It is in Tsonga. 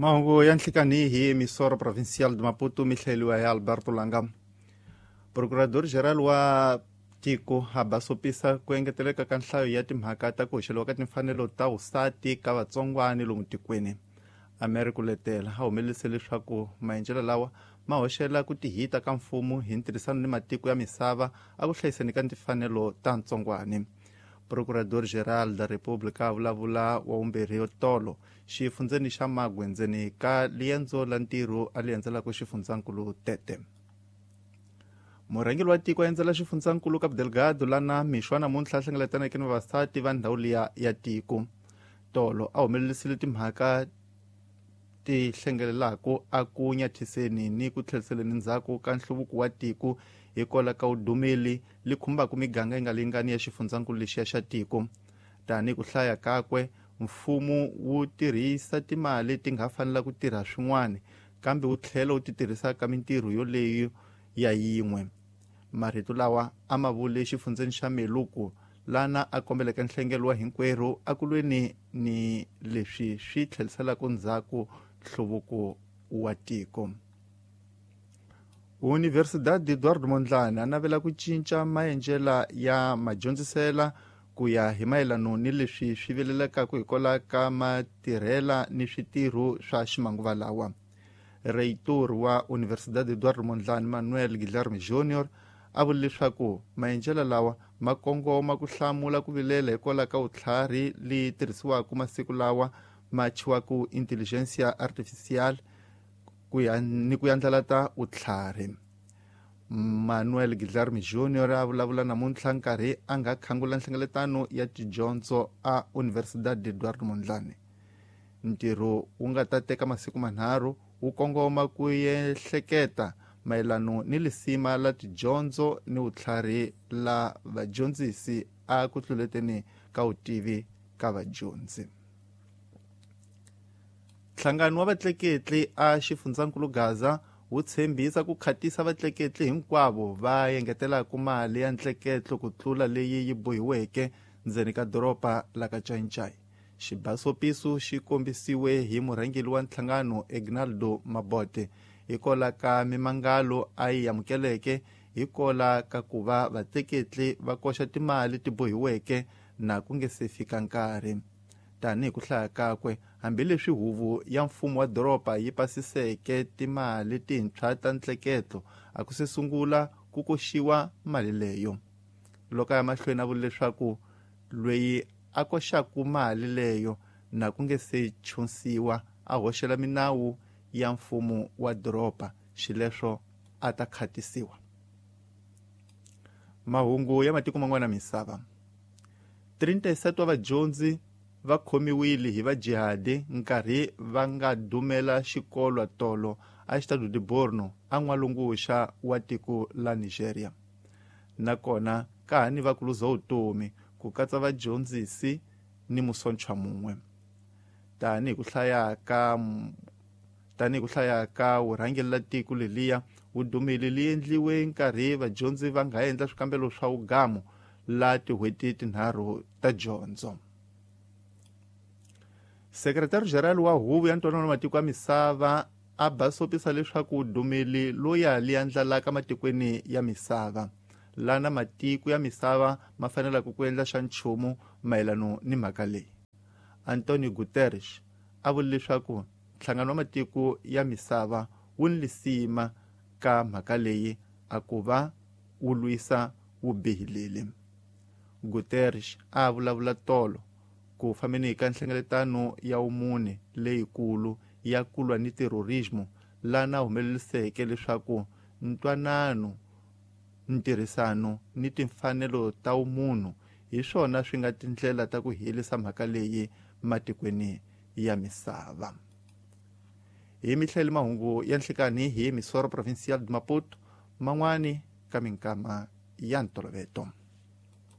Mahungu ya nhlikani hi Emissora Provincial de Maputo, mi hlayeliwa hi Alberto Langa. Procurador Geral wa tiko a basopisa ku engeteleka ka nhlayo ya timhaka ta ku hoxeliwa ka timfanelo ta vusati ka vatsongwani lomu tikweni. Americo Letela a humelelise leswaku maendlelo lawa ma hoxela ku tihita ka mfumo hi ntirhisano ni matiko ya misava a ku hlayiseni ka timfanelo ta ntsongwani. Procurador Geral da República a vulavula wa vumbirhi tolo xifundzeni xa Magwe ndzeni ka liendzo la ntirho a li endzelaka xifundzankulu Tete. Murhangeri wa tiko a endzela xifundzankulu Cabo Delgado lana mixo wa namuntlha a hlengeletaneke ni vavasati va ndhawu liya ya tiko. Tolo a humelerisile timhaka ti hlengelelaka a ku nyathiseni ni ku tlheriseleni ndzhaku ka nhluvuko wa tiko hikwalaho ka vudumeli li khumbaka miganga yi nga lingani ya xifundzankulu lexiya xa tiko. Tanihi ku hlaya kakwe, mfumo wu tirhisa timali ti nga fanela ku tirha swin'wana, kambe wu tlhela wu ti tirhisa ka mintirho yoleyo ya yin'we. Marito lawa a ma vule xifundzeni xa Meluku, lana a kombeleke nhlengelo wa hinkwerhu akulweni ni leswi swi tlheriselaka ndzhaku nhluvuko wa tiko. Universidade Eduardo Mondlane a navela ku cinca maendlela ya madyondzisela ku ya hi mayelano ni leswi swi vilelekaka hikwalaho ka matirhela ni switirho swa ximanguva lawa. Reitor wa Universidade Eduardo Mondlane Manuel Guilherme Junior a vule leswaku maendlelo lawa ma kongoma ku hlamula ku vilela hikwalaho ka vutlhari leyi tirhisiwaka masiku lawa ma thyiwaka intelligentsia artificial ku ya ni ku yandlalata vutlhari. Manuel Guilherme Junior a vulavula namuntlha nkarhi a nga khangula nhlengeletano ya tidyondzo a Universidade Eduardo Mondlane. Ntirho wu nga ta teka masiku manharhu wu kongoma ku ehleketa mayelano ni lisima la tidyondzo ni vutlhari la vadyondzisi a ku tluleteni ka vutivi ka vadyondzi. Nhlangano wa vatleketli a xifundzankulu Gaza wu tshembisa ku khatisa vatleketli hinkwavo va engetelaka mali ya ntleketlo ku tlula leyi yi bohiweke ndzeni ka doroba la ka Chainchai. Xibasopiso xi kombisiwe hi murhangeri wa nhlangano Egnaldo Mabote hikwalaho ka mimangalo a yi amukeleke hikwalaho ka ku va vatleketli va koxa timali ti bohiweke na ku nge se fika nkarhi. Tanihi ku hlaya kakwe, hambileswi huvo ya mfumo wa doroba yi pasiseke timali tintshwa ta ntleketlo, a ku se sungula ku koxiwa mali leyo. Loko a ya mahlweni a vula leswaku loyi a koxaka mali leyo na ku nge se chunsiwa a hoxela minawu ya mfumo wa doroba, xileswo a ta khatisiwa. Mahungu ya matiko man'wana misava. 37 wa vadyondzi va khomiwile hi vajihadi nkarhi va nga dumela xikolo tolo a Estado de Borno a n'walunguxa wa tiko la Nigeria. Nakona ka ha ni va ku luza vutomi ku katsa vadyondzisi ni musontshwa mun'we. Tanihi ku hlaya ka vurhangeri la tiko leliya vudumeli li endliwe nkarhi vadyondzi va nga endla swikambelo swa vugamu la tin'hweti tinharhu ta dyondzo. Sekretari General wa Huvo ya Ntwanano wa Matiko ya Misava a basopisa leswaku vudumeli loya li andlalaka matikweni ya misava, lana matiko ya misava ma fanelaka ku endla xa nchumu mayelano ni mhaka leyi. Antonio Guterres a vule leswaku nhlangano wa matiko ya misava wu ni lisima ka mhaka leyi a ku va wu lwisa vubihileli. Guterres a vulavula tolo ku fambeni ka nhlengeletano ya vumune leyikulu ya ku lwa ni terrorismo, lana humeleriseke leswaku ntwanano, ntirhisano ni timfanelo ta vumunhu hi swona swi nga tindlela ta ku herisa mhaka leyi matikweni ya misava. Hi mihleli mahungu ya nhlikani hi Emissora Provincial de Maputo, man'wani ka minkama ya ntoloveto.